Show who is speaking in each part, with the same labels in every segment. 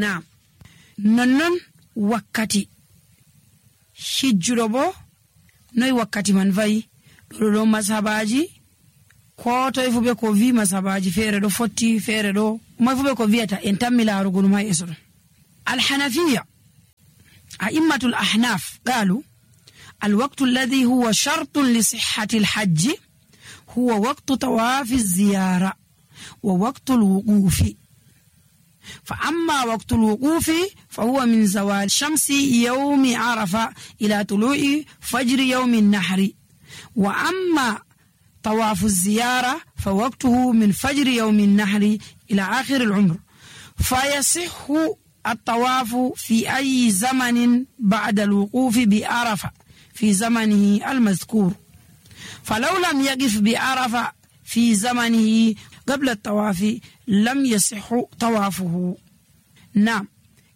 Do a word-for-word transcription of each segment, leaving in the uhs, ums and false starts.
Speaker 1: naam nonnon wakkati hijjuɗo bo noy wakkati man vayi ɗo ɗo masabaji ko toy fu be ko vi masabaji feere ɗo fotti feere ɗo moy fu be ko viyata en tammi laarugo ɗum ha yeso ɗon. alhanafiya أئمة الأحناف قالوا الوقت الذي هو شرط لصحة الحج هو وقت طواف الزيارة ووقت الوقوف. فأما وقت الوقوف فهو من زوال شمس يوم عرفة إلى طلوع فجر يوم النحر. وأما طواف الزيارة فوقته من فجر يوم النحر إلى آخر العمر. فيصح الطواف في أي زمن بعد الوقوف بعرفة في زمنه المذكور. فلو لم يقف بعرفة في زمنه قبل الطواف لم يصح طوافه. نعم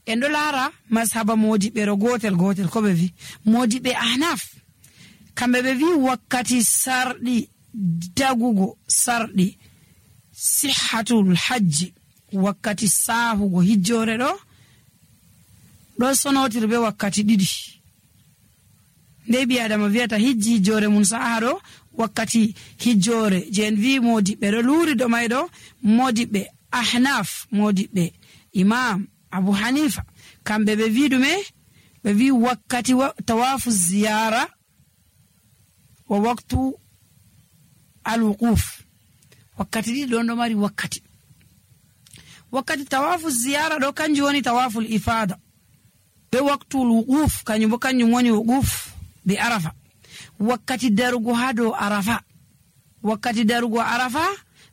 Speaker 1: endo lara mashaba modiɓe ro gotel gotel ko ɓe vi modiɓe ahnaf kamɓe ɓe vi wakkati sarɗi dagugo sarɗi sihhatul hajji wakkati sahugo hijjore ɗo ɗo sonotir be wakkati ɗiɗi nde bi adama wiyata hijji hijjore mun saha ɗo wakkati hijjore je en wi modiɓe ɗo luri ɗo may ɗo modiɓe ahnaf modiɓe imam abu hanifa kamɓe ɓe wi ɗume ɓe wi wakkati tawafu ziyara wa waktu alwuquf wakkati ɗiɗi ɗon ɗo mari wakkati wakkati tawafu ziyara ɗo kanjum woni tawaful ifada be waktul wuquf kanjum bo kanjum woni wuquf be arafa wakkati darugo ha dow arafa wakkati darugo arafa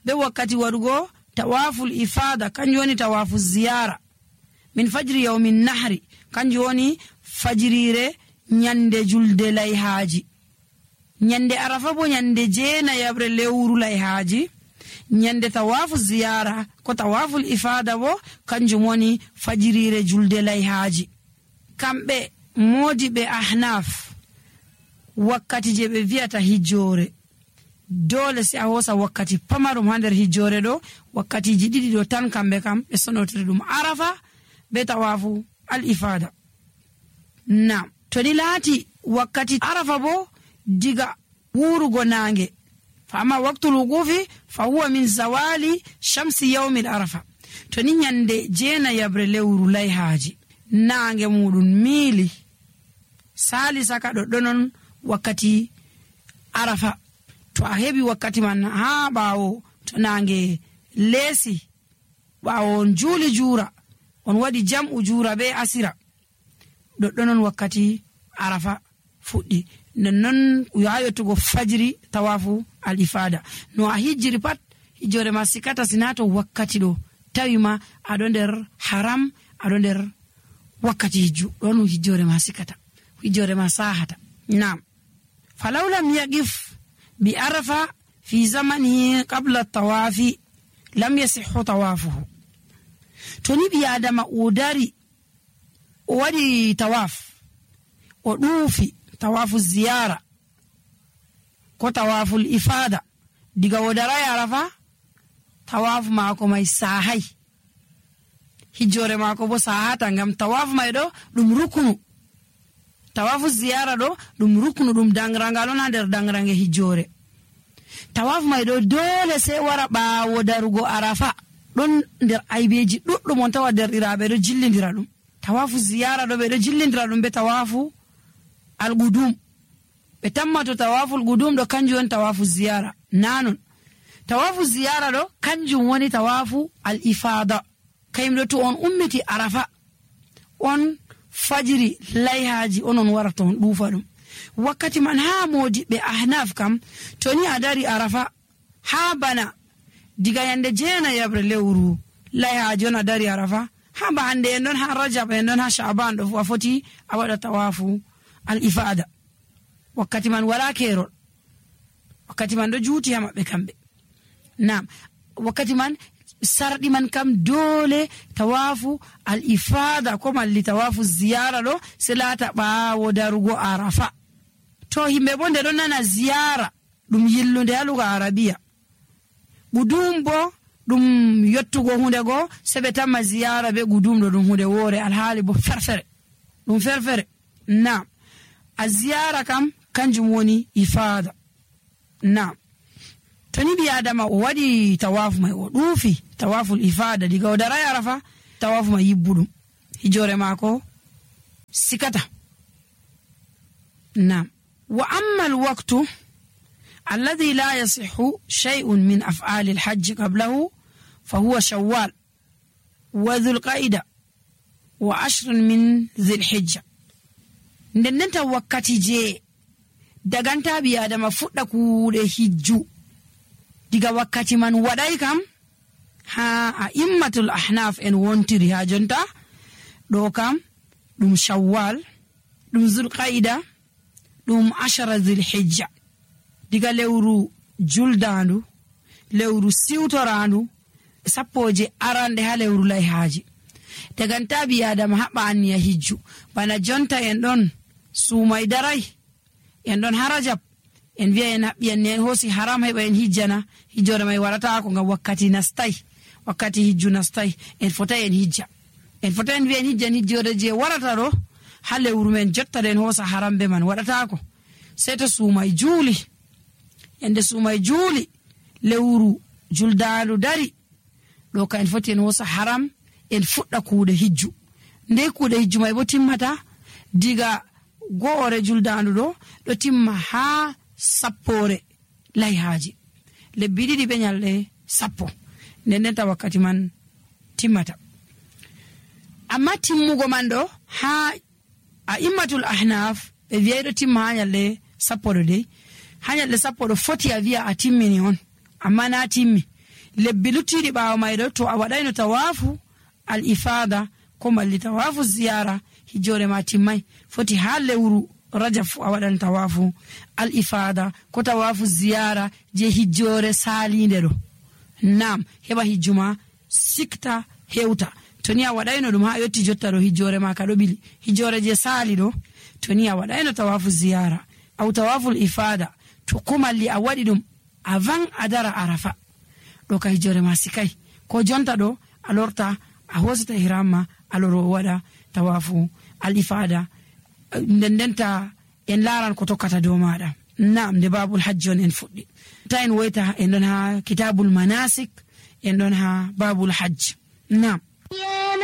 Speaker 1: be wakkati waɗugo tawaful ifada kanjum woni tawafu ziyara min fajri yawmin nahri kanjum woni fajirire nyande julde layhaji nyande arafa bo nyande jeena yabre lewru layhaji nyande tawafu ziyara ko tawaful ifada bo kanjum woni fajirire julde layhaji. kamɓe modiɓe ahnaf wakkati je ɓe viyata hijjore dole si a hosa wakkati pamarum ha nder hijjore ɗo wakkatiji ɗiɗi ɗo tan kamɓe kam ɓe sonotiri ɗum arafa be tawafu al ifada. nam to ni laati wakkati arafa bo diga wurugo nange فأما وقت الوقوف فهو من زوال شمس يوم العرفة توني nyande jeena yabre lewru layhaji nange mudun mili sali saka do donon wakati arafa to a hebi wakati man ha bawo to nange lesi bawo juli jura on wadi jam'u jura be asira do donon wakati arafa fuddi non yayotugo fajiri tawafu al-ifada no a hijjiri pat hijjore ma sikata sinato wakkati do tawima ado nder haram ado nder wakkati hijju don hijjore ma sikata hijjore ma sahata. Naam falaw lam yaqif bi arafa fi zamanihi qabla at-tawafi lam yasihhu tawafuhu. toni bi adama udari o wadi tawaf o dufi tawafu ziyara ko tawaful ifada diga wodara arafa tawafu mako mai sahai hijjore mako bo sahata ngam tawafu mai do dum rukunu tawafu ziyara do dum rukunu dum dangrangalo na der dangrange hijjore tawafu mai do dole sai wara bawo darugo arafa don der aybeji duddum on tawa der irabe do jillindira dum tawafu ziyara do be do jillindira dum be tawafu al-gudum be tammato tawaful gudum do kanjum woni tawafu ziyara nanon tawafu ziyara do kanjum woni tawafu al-ifada kayimdo to on ummiti arafa on fajiri layhaji onon warata on dufa dum wakkati man ha modi be ahnaf kam toni adari arafa ha bana diga yande jeena yabre lewru layhaji on adari arafa ha ba hande en don ha rajab en don ha sha'ban do fu foti a wada tawafu al-ifada wakkati man wala kerol wakkati man do juuti ha mabbe kambe. Naam wakkati man sardi man kam dole tawafu al-ifada ko malli tawafu ziyara do selata bawo darugo arafa to himbe bonde don nana ziyara dum yillunde alugo arabiya budum bo ɗum yottugo hunde go sebe tamma ziyara be gudumɗo ɗum hunde wore alhaali bo ferfere ɗum ferfere. Naam, a ziyara kam kanjum woni ifada. Naam, toni bi adama o waɗi tawafu mai o ɗuufi tawaful ifada diga o daray arafa tawafu mai yibbuɗum hijore maako sikata. Naam, wa amma alwaqtu alladhi la yasihhu shay'un min af'ali alhajj qablahu fahuwa shawwal wa dhul qa'ida wa ashrun min dhil hijja. Ndendenta wakkati je daganta bi adama fuɗɗa kuuɗe hijju diga wakkati man waɗay kam ha a immatul ahnaf en wontiri ha jonta ɗo kam ɗum shawwal ɗum zulqaida ɗum ashara dhil hijja diga lewru juldandu lewru siwtorandu sappoje arande ha lewru layhaji daganta bi adama haɓa anniya hijju bana jonta en ɗon suumay daray en ɗon harajab en wiya en haɓɓi en en hoosi haram heɓa en hijjana hijjore may waɗata ko ngam wakkati nastay wakkati hijju nastay en fotay en hijja en fotay en wiya en hijjan hijjore je warata ɗo ha lewru men jotta en hoosa haram be man waɗata ko sey to suumay juuli ende suumay juuli lewru juldandu dari ɗo ka en foti en hoosa haram en fuɗɗa kuuɗe hijju nde kuuɗe hijju may bo timmata diga go'ore juldandu ɗo ɗo timma ha sappore layhaji lebbi ɗiɗi ɓe nyalɗe sappo nden ndenta wakkati man timmata. Amma timmugo man ɗo ha a immatul ahnaf ɓe wiyay ɗo timma ha nyalɗe sappo ɗo dey ha nyalɗe sappo ɗo foti a wiya a timmini on amma na timmi. Lebbi luttiɗi ɓawo may ɗo to a waɗayno tawafu al ifada ko malli tawafu ziyara hijjore ma timmay foti ha lewru rajab fu a waɗan tawafu al ifada ko tawafu ziyara je hijjore salinde ɗo. Naam, heɓa hijjuma sikta hewta toni a waɗayno ɗum ha yotti jotta ɗo hijjore ma ka ɗo ɓili hijjore je sali ɗo toni a waɗayno tawafu ziyara aw tawaful ifada to ko malli a waɗi ɗum avant a dara arafa ɗo ka hijjore ma sikay ko jonta ɗo a lorta a hosita hiramma a loro waɗa tawafu al ifada nden ndenta en laran ko tokkata dow maɗa. Naam, nde babul hajji on en fuɗɗi ta en woyta en ɗon ha kitabul manasik en ɗon ha babul hajj. Naam.